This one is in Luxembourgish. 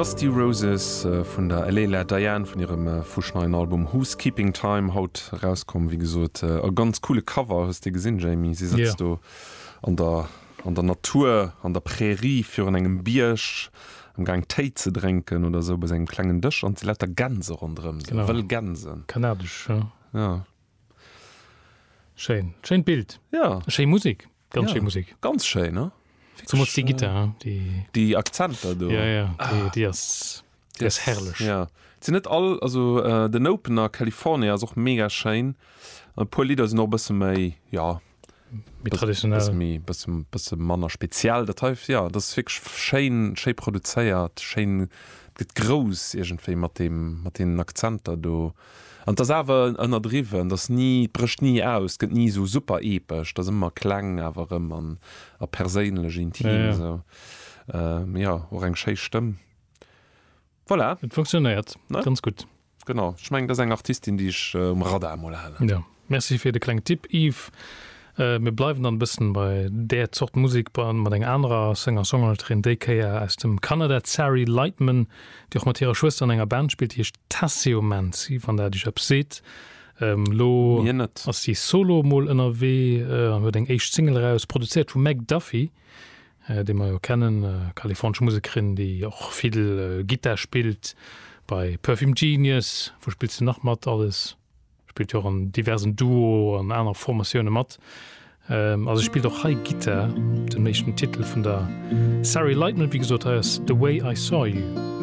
Dusty Roses vun der Alela Diane vun hirem fuschneien Album Who's Keeping Time, haut erauskomm. Wéi gesot e ganz coole Cover, hues de gesinn Jamie? Si sëtzt do an der an der Natur, an der Prärie virun engem Bierg am Gaang Téi ze drénken oder esou bei sengem klengen Dësch an et si lauter Gänse ronderëm, esou wëll Gänsen. Kanadesch, jo. Ja. Schéin, schéint Bild. Ja. Schéi Musek, ganz schéi Musek. Ganz schéin, ne? Zemools déi Gittar, déi. Déi Akzenter do. Ja, ja, déi, déi ass, déi ass herrlech. Ja. Et sinn net all, also den Opener California ass och mega schéin. E puer Lidder sinn och e bësse méi, ja, Méi traditionell. Bësse méi, bësse, bësse manner speziell. Dat hei, ja, dat ass wierklech schéin, schéi produzéiert, schéin, et gëtt grouss iergendwéi mat deem, mat deenen Akzenter do. An et ass awer ënnerdriwwen, et ass ni, et brécht ni aus, et gëtt ni esou super epesch, et ass ëmmer kleng awer erëm an a perséinlech, intim esou. Jo, och eng schéi Stëmm. Voilà. Et funktionéiert ganz gutt. Genau, ech mengen, dat ass eng Artistin, déi ech um Radar mol halen. Jo, merci fir de klengen Tipp, Yves. Mir bleiwen dann e bëssen bei där Zort Musek, mat enger anerer Singer-Songwriterin, déi Kéier aus dem Kanada, d'Sari Lightman, déi och mat hirer Schwëster an enger Band spillt, déi heescht Tasseomancy, wann dat iech eppes seet. Elo ass si solo mol ënnerwee an huet eng éischt Single eraus, produzéiert vum Meg Duffy, déi mer jo kennen, kalifornesch Musekerin, déi och vill Gittar spillt bei Perfume Genius. Wou spillt se nach mat alles? Spillt jo och an diversen Duo an aner Formatioune mat. A se spillt och hei Gittar op dem éischten Titel vun der Sari Lightman. Wéi gesot, hei ass The Way I Saw You.